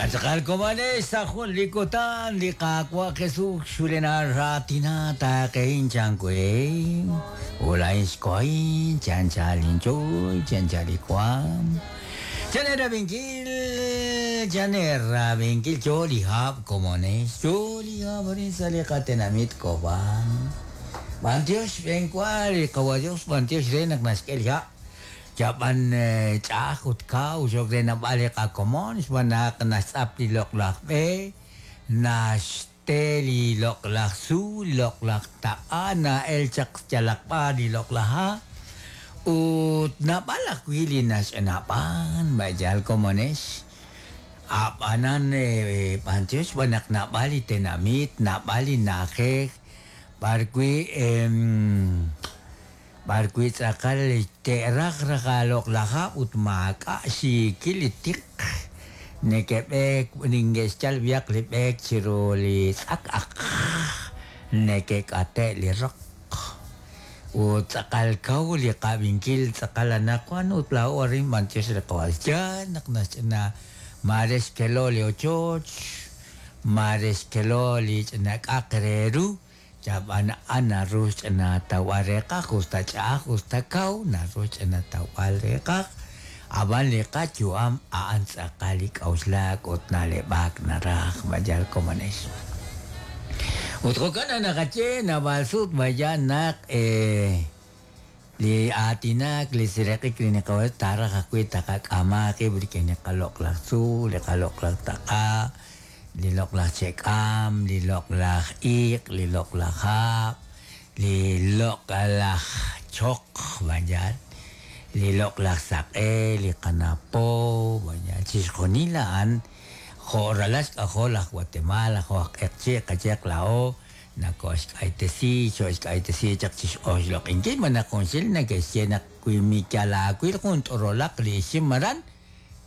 Yatz'aqal komonex sa' jun li kutan li Qaawa' Jesus xulinaraatina taaqehin chan we. Ulain xkohin chan chalinchuy chan chalikuam. Chan erabinkil chan erabinkil yo li hab' komonex yo li hab' arin sa' li qatenamit Cobán. B'antiox xb'eenwa li Qawa' Dios b'antiox re naq naxk'e li hab'. Yab'an ch'a'aj ut kaw xok re nab'al li qakomon xb'aan naq naxtz'ap li loq'laj b'e, naxte li loq'laj tzuul, loq'laj taq'a, na'el chaq yalaq b'ar li loq'laj ha' ut naab'al ajwi' li naxch'anab'an b'ayal komonex. Ab'anan b'antiox xb'aan naq naab'al li tenamit, naab'al li na'ajej b'arwi' b'arwi' tz'aqal te'raj raj aaloq'laj hab' ut maak'a' xiikil li tiq neke'b'eek ninke'xyal b'ihaq li b'eek chiru li tz'ak aq neke'k'ate' li roq ut tz'aqal kaw li qab'inkil tz'aqal anaqwan ut laa'o arin b'antiox li Qawa' yaal naq naxch'ina maare xkelo li ochoch maare xkelo li ch'ina k'aq re ru Yab'an a'an naru xch'ina tawb'al reeqaj usta ch'a'aj usta kaw naru xch'ina tawb'al reeqaj ab'an li qayu'am a'an tz'aqal li k'a'uxlak ut na'leb'ak naraj mayal komonex. Ut jo'kan naq naqaye naab'al sut mayal naq li aatinak li seeraq'ik li naqab'aanu taaraj ajwi' taqak'ama qib' rik'in li qaloq'laj tzuul, li qaloq'laj taq'a, li loq'laj che'k'aam, li loq'laj iq', li loq'laj hab', li loq'laj choq mayal, li loq'laj saq'e, li qana' po, mayal chixjunil a'an jo' ralal xk'ajol aj Guatemala, jo' aj q'eqchi' qayehaq laa'o nakoxk'aytesi, xo'xk'aytesi chaq chi x'oxloq'inkil malaj junxil neke'xye naq wi miyal aawil jun t'orolaq li ixim aran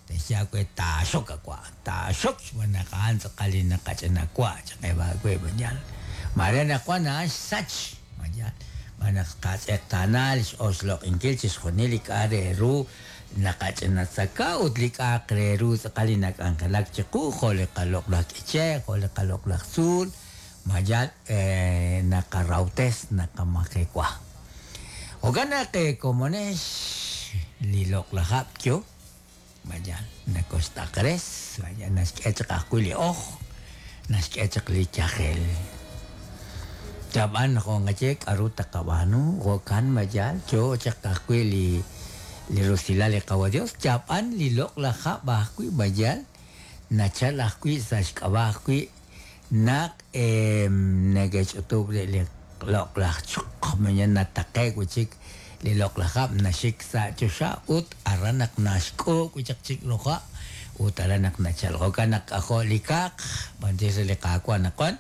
texye aawe taaxok awa', taaxok xb'aan naq a'an tz'aqal li naqach'ina wa' chaq eb' aawe mayal. Maare anaqwan a'an xsach mayal xb'aan naq qatz'eqtaana li x'oxloq'inkil chixjunil li k'a' re ru naqach'ina tzaka ut li k'a'aq re ru tz'aqal li nak'anjelak chiqu jo' li qaloq'laj k'iche', jo' li qaloq'laj tzuul mayal naqarawtes naqamajewa. Jo'kan naq komonex li loq'laj hab' yo mayal nakoxtaqres mayal naxk'e chaq ajwi' li oj naxk'e chaq li yajel. Yab'an jo' nqaye k'aru taqab'aanu jo'kan mayal yo chaq ajwi' li li rusilal li Qawa' Dios yab'an li loq'laj hab' ajwi' mayal nachal ajwi' sa' xk'ab'a' ajwi' naq neke'ch'utub' rib' li loq'laj choq mañana nataqe'k wi' chik li loq'laj hab' naxik sa' choxa ut aran naq naxk'uub' wi' chaq chik roja' ut aran naq nachal jo'kan naq k'ajo' li kaaq b'antiox re li Qaawa' anaqwan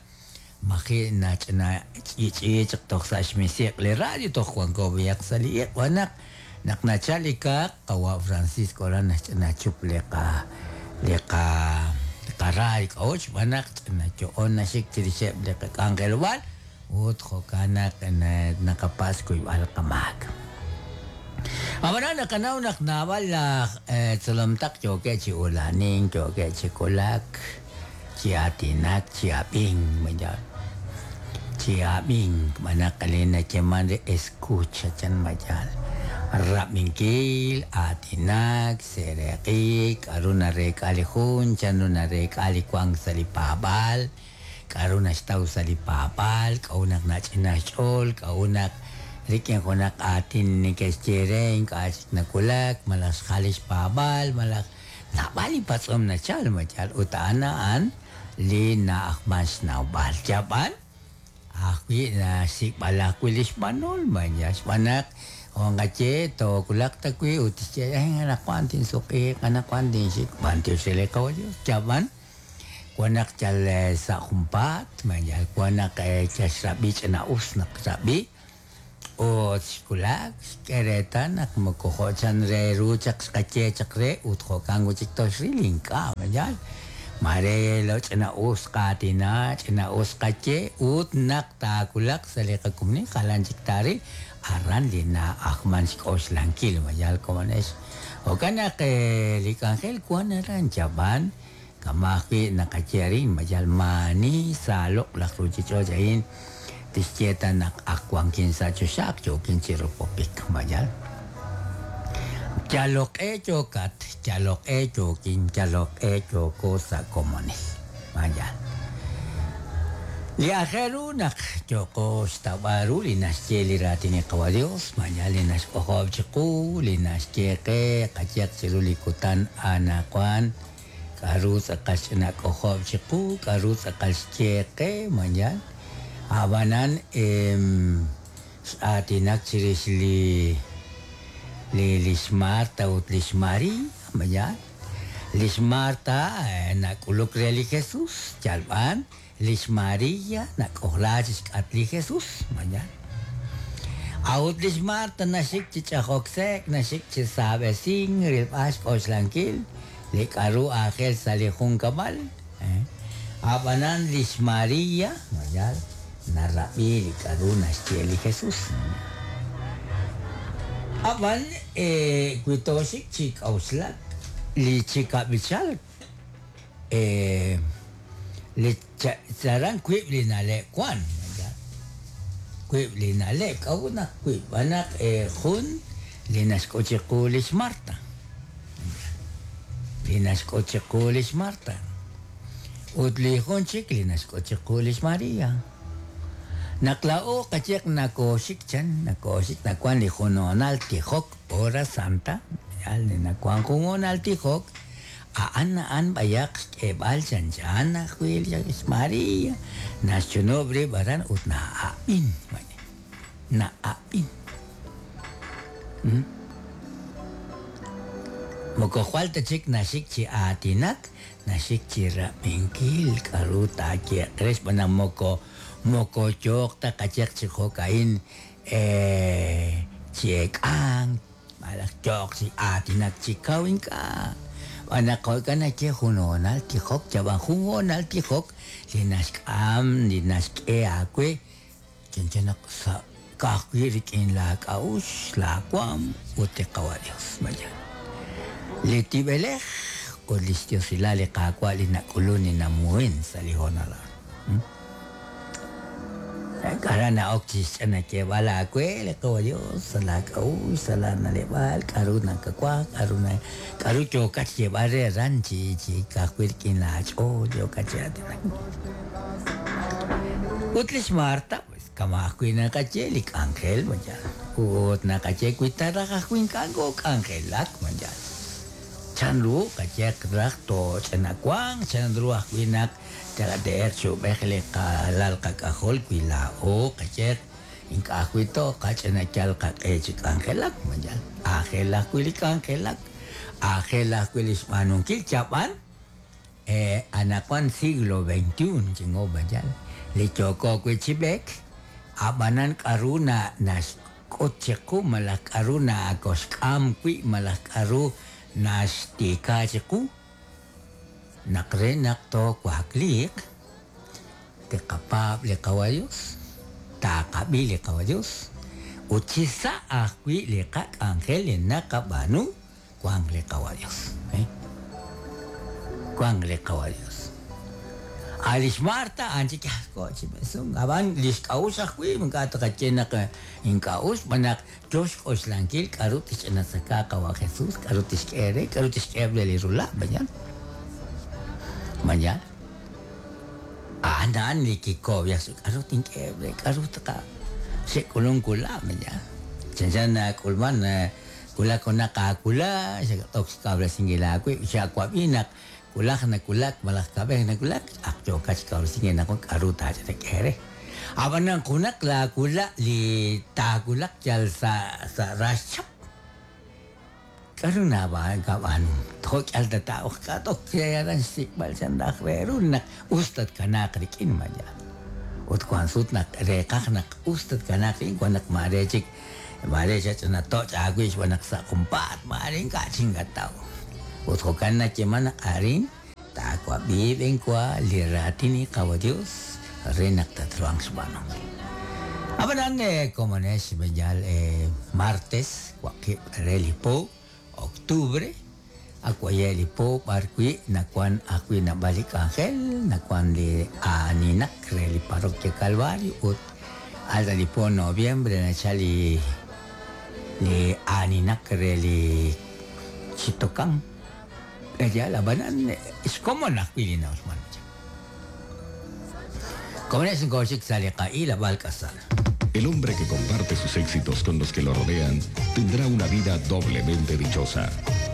maji' nach'ina ch'i'ch'i'i chaq toj sa' xmisiq' li radio toj wanko b'ihaq sa' li iq' wan naq naq nachal li kaaq qawa' Francisco aran naxch'ina chup li qa li qa qaraay k'a'ut xb'aan naq ch'ina yo'on naxik chirixeb' li qak'anjelob'aal ut jo'kan naq naqapatz' xkuyb'al qamaak. Ab'anan naqanaw naq naab'al laj tzolomtaq yookeb' chi ula'anink, yookeb' chi wulak, chi aatinak, chi ab'ink mayal chi ab'ink xb'aan naq li nayeeman re escucha chan mayal rab'inkil, aatinak, seeraq'ik, k'aru nareek'a li jun, chanru nareek'a li wank sa' li paab'aal, k'aru naxtaw sa' li paab'aal, k'a'ut naq nach'ina xch'ool, k'a'ut naq rik'in junaq aatin neke'xye re ink'a' chik nawulak malaj xjal li xpaab'aal malaj naab'al li patz'om nachal mayal ut a'an a'an li na'ajman xnawb'al. Yab'an ajwi' naxsik'b'al ajwi' li xb'anol mayal xb'aan naq jo' nqaye toowulaq ta wi' ut tixye anaqwan tinsuq'iiq, anaqwan tinxik b'antiox re li Qawa' Dios. Yab'an wan naq yal sa' junpaat mayal wan naq yal xrab'i ch'ina us naq xrab'i ut xwulak xk'e reetal naq moko jo' chan re ru chaq xqaye chaq re ut jo'kan wi' chik toxril ink'a' mayal maare lo ch'ina us qaatina, ch'ina us qaye ut naq taawulaq sa' li qakumni jalan chik taaril aran li na'ajman xk'oxlankil mayal komonex. Jo'kan naq li k'anjel wan aran yab'an. Kama' ajwi' naqaye arin, ma yal maa'ani sa' loq'laj ruuchich'och' a'in tixye ta naq ak wankin sa' choxa, ak yookin chi ropopik, ma yal? Yaloq q'e yookat, yaloq q'e yookin, yaloq q'e yooko sa' komonil, ma yal? Li aajel ru naq yooqo xtawb'al ru li naxye li raatin li Qawa' Dios, ma yal li naxk'ojob' chiqu, li naxye qe qayehaq chiru li kutan anaqwan, K'a'ru tz'aqal xch'ina k'ojob' chiqu, k'a'ru tz'aqal xye qe, ma yaal? A'b'anan x'aatinak chirix li li li xMarta ut li xMaria, ma yaal? Li xMarta nak'uluk re li Jesus, yal b'an li xMaria nak'ojla chixk'atq li Jesus, ma yaal? A'ut li xMarta naxik chi ch'ajok sek', naxik chi saab'esink, rilb'al xk'oxlankil li k'a'ru aajel sa' li junkab'al. A'b'anan li xMaria, ma yaal, narab'i li k'a'ru naxye li Jesus. A'b'an wi tooxik chi k'a'uxlak, li chi kab'ichal, li aran wiib' li na'leb' wan, wiib' li na'leb', k'a'ut naq wiib'? Xb'aan naq jun li naxk'ut chiqu li xMarta, li naxk'ut chiqu li xMarta, ut li jun chik li naxk'ut chiqu li xMaria. Naq laa'o qayehaq nakooxik chan, nakooxik nawan li jun hoonal tijok, hora santa, yaal li nawan jun hoonal tijok, A'an a'an b'ayaq xk'eeb'al chanchan ajwi' li xMaria, naxchunub' rib' aran ut na'ab'in. Na'ab'in. Moko jwal ta chik naxik chi aatinak, naxik chi rab'inkil k'a'ru taayeeq re xb'aan naq moko moko yooq ta qayehaq chi jo'ka'in chi eek'ank, Malaj yooq chi aatinak chi kaw ink'a'. Xb'aan naq jo'kan naxye jun hoonal tijok, yab'an jun hoonal tijok li naxk'am, li naxk'e aawe chanchan naq sa' ka'ajwi' rik'in laa k'a'uxl, laa waam ut li Qawa' Dios. Ma yaal? Li tib'elej ut lix diosilal li Qaawa' li nak'ulun li namuhen sa' li hoonal a'an. Aran na'ok chi xch'anayeeb'al aawe li Qawa' Yos sa' laak'a'uxl, sa' laana'leb'aal, k'aru nakawaj, k'aru na, k'aru yookat xyeeb'al re aran chi chi ka'ajwi' rik'in laach'ool yookat chi aatinak. Ut li xMarta, pues kama' ajwi' naqaye li k'anjel, ma yaal? Ut naqaye wi ta raj ajwi' ink'a' kook'anjelak, ma yaal? Chanru qayehaq raj tooch'anawanq, chanru ajwi' naq Te'qate'eq chi ub'ej li qalal qak'ajol wi laa'o qayehaq ink'a' ajwi' tooqach'ina yal qaq'e chi k'anjelak, ma yal aajel ajwi' li k'anjelak, aajel ajwi' li xb'aanunkil chab'an anaqwan siglo veintiuno chingo ma yal li yooko wi' chi b'eek, a'b'anan k'a'ru naxk'ut chiqu malaj k'a'ru nakoxk'am wi' malaj k'a'ru naxtiika chiqu. Naq re naq toowakliiq, tiqapaab' li Qawa' Dios, taaqab'i li Qawa' Dios, ut chi sa' ajwi' li qak'anjel li naqab'aanu wanq li Qawa' Dios. Wanq li Qawa' Dios. A' li xMarta a'an chik yal ko' chi mesunk, ab'an li xk'a'uxl ajwi' ink'a' taqaye naq ink'a' us, xb'aan naq Yo xk'oxlankil k'aru tixch'inatzaka Qawa' Jesús, k'aru tixk'e re, k'aru tixk'eheb' re li rula', ma yaal? Ma yaal? A'an a'an li kikoob'yak sa' k'aru tink'eheb' re, k'aru taqa xe'k'ulunk wula', ma yaal? Chanchan nak'ulman wulak junaq aawula', xat'ok xkawresinkil aawib', xawab'i naq wulaj nawulak malaj kab'ej nawulak, ak yookat xkawresinkil naq k'aru taach'inak'e re. Ab'anan junaq laawula' li taawulaq yal sa' sa' rax chap. K'aru nakab'aanu? Jo' k'ihal tataa'oq k'a'tok aran xsik'b'al chan raj re ru naq us tatkanaaq rik'in ma yaal. Ut wank sut naq reeqaj naq us tatkanaaq rik'in wank naq maare chik maare xach'ina toch' aawib' xb'aan naq sa' junpaat maare ink'a' chik nakataw. Ut jo'kan nayeeman naq arin Taawab'i b'enwa li raatin li Qawa' Dios re naq tatruhanq xb'aanunkil. Ab'anan, komonex b'enyal martes waqib' re li po, octubre, Akwaye li po b'ar wi' nawan ajwi' naab'al li k'anjel, nawan li aaninak re li parroquia Calvario ut al li po noviembre nachal li li aaninak re li chitokan. Ella la banan xkomon ajwi' li na'uxman. Como es ngoxik sa li qa'il ab'al k'asal. El hombre que comparte sus éxitos con los que lo rodean tendrá una vida doblemente dichosa.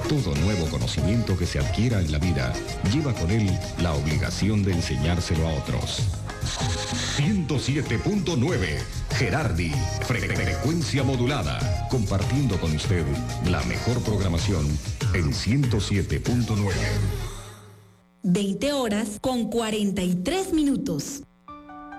Todo nuevo conocimiento que se adquiera en la vida lleva con él la obligación de enseñárselo a otros. 107.9 Gerardi, frecuencia modulada, compartiendo con usted la mejor programación en 107.9. 20 horas con 43 minutos.